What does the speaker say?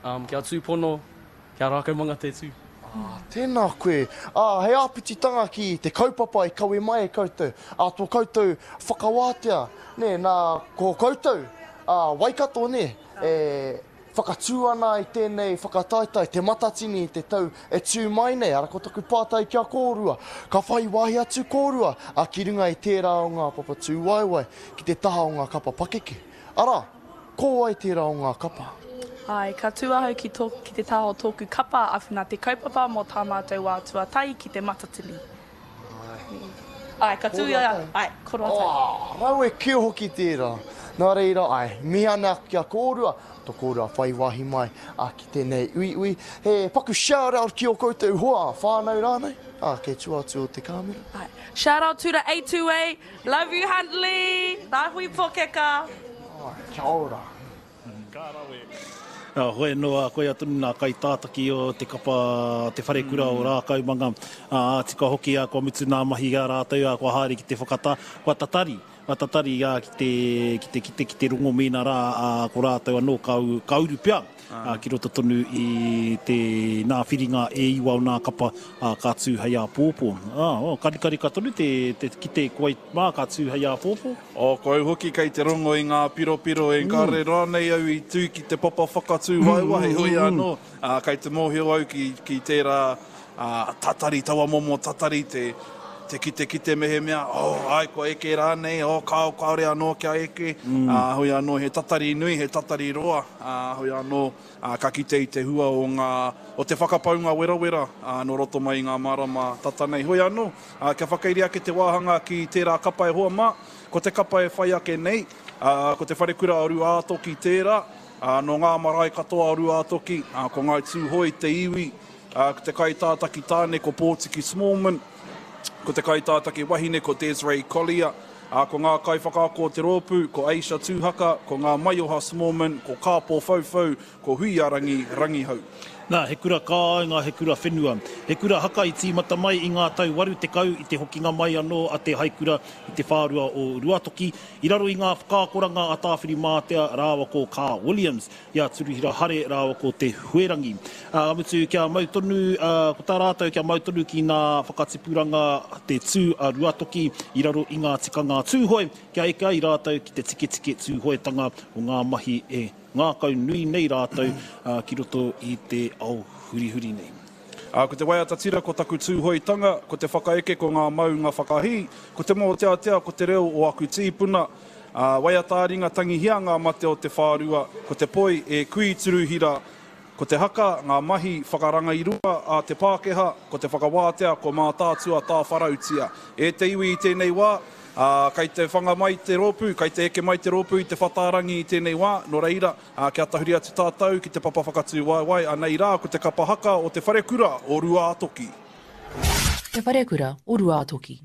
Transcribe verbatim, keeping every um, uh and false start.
Um, kia tūpono, kia Rākaumanga te tū. Ah, tēnā koe. Ah, hei āpititanga ki te kaupapa i kawe mai e koutou. Ah, tō koutou whakawātea, nē, nā, ko koutou, ah, Waikato, nē, e whakatū ana i tēnei whakataetae, Te Matatini i te tau e tū mai nei. Ara, ko taku pātai ki a kōrua, ka whai wāhi atu kōrua, ah, ki runga i tērā o ngā papa tūwaewae, ki te taha o ngā kapa pakeke. Ara, ko wai tērā o ngā kapa? Ai, ka tū ahau ki, tō, ki te taha o tōku kapa awhina te kaupapa mō tā mātou wā tuatahi ki Te Matatini. Ai, ka tū ia, ai, koroatai. Oh, rawe kē hoki tērā. Nā reira, ai, mihi ana ki a kōrua, tō kōrua whai wāhi mai a ki tēnei uiui. He paku shout out ki o koutou hoa, whānau rānei, a, kei tua atu o te kāmera. Ai. Shout out to the A two A, love you Huntley, Rāhui Pōkeka. Ai, kia ora. Ka rawe. Hoi anō, koia tonu nā kaitātaki o te kapa te wharekura o Rākaumanga. Ā, tika hoki, kua mutu nā mahi a rātou, kua haere ki te whakatā, kua tatari, kua tatari ki te, ki te, ki te, ki te rongo mēnā rā, ko rātou anō ka, ka uru pea ki roto tonu i te nā whiringa e iwa o nā kapa ka tū hei āpōpō. Ā, oh, karikarika tonu te, te kite koe mā ka tū hei āpōpō. Oh, ko au hoki kei te rongo i ngā piropiro e kāre rānei au i tū ki te papa whakatū waewae, hoi anō, ā, kei te mōhio au ki, ki tērā ā, tatari, taua momo tatari te, te kite kite mehemea, oh, ai, kua eke rānei, oh, kāo, kāore anō kia eke, mm. ā, hoi anō, he tatari nui, he tatari roa, ā, hoi anō, ā, ka kite i te hua o ngā, o te whakapaunga werawera, ā, nō roto mai i ngā marama tata nei. Hoi anō, ā, kia whakairi ake te wāhanga ki tērā kapa e hoa mā, ko te kapa e whai ake nei, ā, ko te wharekura o Ruātoki tērā, ā, nō ngā marae katoa o Ruātoki, ā, ko Ngāi Tūhoe te iwi, ā, ko te kaitātaki tāne ko Pōtiki Smallman, ko te kaitātaki wahine ko Desiree Collier, ā, ko ngā kaiwhakaako o te rōpū, ko Aisha Tūhaka, ko ngā Maioha Smallman, ko Kāpō Whauwhau, ko Huiarangi Rangihau. Nā, he kura kāinga, he kura whenua. He kura haka i tīmata mai i ngā tau waru tekau i te hokinga mai anō a te haikura i te whārua o Ruatoki, i raro i ngā whakaakoranga a Tāwhirimātea rāua ko Carl Williams, i a Turuhira Hare rāua ko Te Huerangi. Ā, mutu kia mau tonu, ā, ko tā rātou kia mau tonu ki ngā whakatipuranga te tū a Ruatoki i raro i ngā tikanga Tūhoe, kia eke ai rātou ki te tiketike Tūhoetanga o ngā mahi e ngākau nui nei rātou ki roto i te ao hurihuri nei. Ā, ko te waiata tira ko taku tūhoetanga, ko te whakaeke ko ngā maunga whakahī, ko te mōteatea ko te reo o aku tīpuna, ā, waiata ā-ringa tangihia ngā mate o te whārua, ko te poi e kui turuhira, ko te haka ngā mahi whakarangairua a te Pākehā, ko te whakawātea ko Mātaatua tāwharautia. E te iwi i tēnei wā, ā, kei te whanga mai te rōpū, kei te eke mai te rōpū i te whatārangi i tēnei wā, nō reira, ā, kia tahuri atu tātou ki te papa whakatū waewae, anei rā ko te kapa haka o te wharekura o Ruātoki. Te wharekura o Ruātoki.